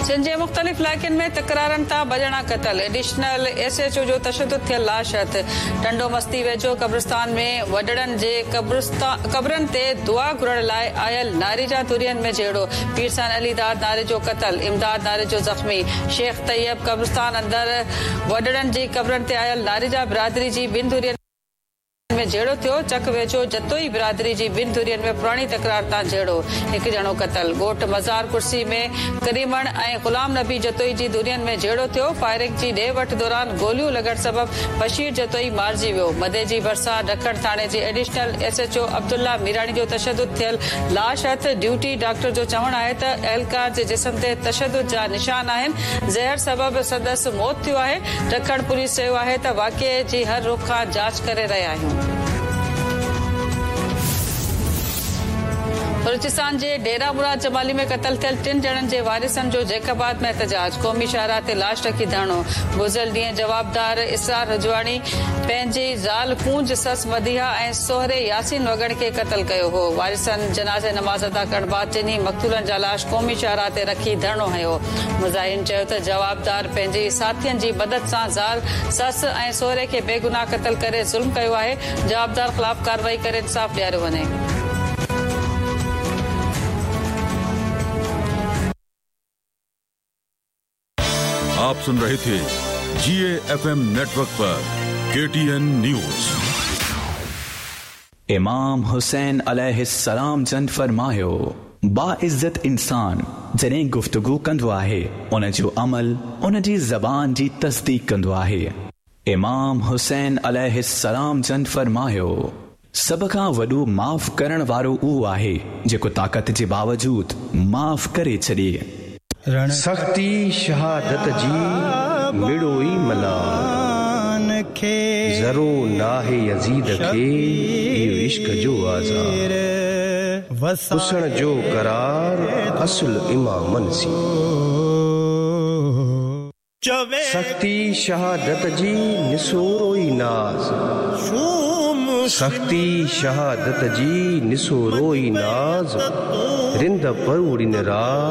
سنڌ جي مختلف علائقن ۾ تڪرارن تان ٻه ڄڻا قتل، ايڊيشنل ايس ايڇ او جو تشدد ٿيل لاش هٿ، ٽنڊو مستي ويجهو قبرستان ۾ وڏڙن جي قبرن تي دعا گهرڻ لاء آيل ناريجا ڌرين ۾ جهيڙو، پيرسن علي داد ناريجو قتل، امداد ناريجو زخمي، شيخ طيب قبرستان اندر وڏڙن جي قبرن تي آيل ناريجا برادري جي ٻن ڌرين ۾ جهيڙو ٿيو، چڪ ويجهو جتوئي برادري جي ٻن ڌرين ۾ پراڻي تڪرار تان جهيڙو، هڪ ڄڻو قتل، ڳوٺ مزار ڪرسي ۾ ڪريمڻ ۽ غلام نبي جتوئي جي ڌرين ۾ جهيڙو ٿيو، فائرنگ جي ڏي وٺ دوران گوليون لڳڻ سبب بشير جتوئي مارجي ويو، مديجي ڀرسان ڊکڻ ٿاڻي جي additional S H O Abdullah Mirani جو تشدد ٿيل لاش هٿ، ڊيوٽي ڊاڪٽر جو چوڻ آهي ته اهلڪار جي جسم تي تشدد جا نشان آهن، زهر سبب سندس موت ٿيو آهي، ڊکڻ پوليس چيو آهي ته واقعي جي هر رخ کان جاچ ڪري رهيا آهيون. بلوچستان جي ڊيرا مراد جمالي ۾ قتل ٿيل ٽن ڄڻن جي وارثن جو جيڪب آباد ۾ احتجاج، قومي شاهراهه تي لاش رکي ڌرڻو، گذريل ڏينهن جوابدار اسرار رجواڻي پنهنجي زال ڪونج، سس مديحه ۽ سهري ياسين وڳڻ کي قتل ڪيو هو، وارثن جنازي نماز ادا ڪرڻ بعد ٽنهي مقتولن جا لاش قومي شاهراهه تي رکي ڌرڻو هنيو. مظاهرين چيو ته جوابدار پنهنجي ساٿين جي مدد سان زال، سس ۽ سهري کي بيگناهه قتل ڪري ظلم ڪيو آهي، جوابدار خلاف ڪارروائي ڪري انصاف ڏياريو وڃي. آپ سن رهي ٿي جي اي ايف ايم نيٽورڪ پر ڪي ٽي اين نيوز. امام حسين عليه السلام جن فرمايو، باعزت انسان جڏهن گفتگو ڪندو آهي ان جو عمل ان جي زبان جي تصديق ڪندو آهي. امام حسين عليه السلام جن فرمايو، سڀ کان وڏو معاف ڪرڻ وارو اهو آهي جيڪو طاقت جي باوجود معاف ڪري ڇڏي. سختي شهادت جي مڙوئي ملال. ذرو ناهي يزيد کي اهو عشق جو آزار. پسڻ جو قرار اصل امامن سين. سختي شهادت جي نسورو ئي ناز. سختي شهادت جي نسورو ئي ناز. رند پروڙين راز.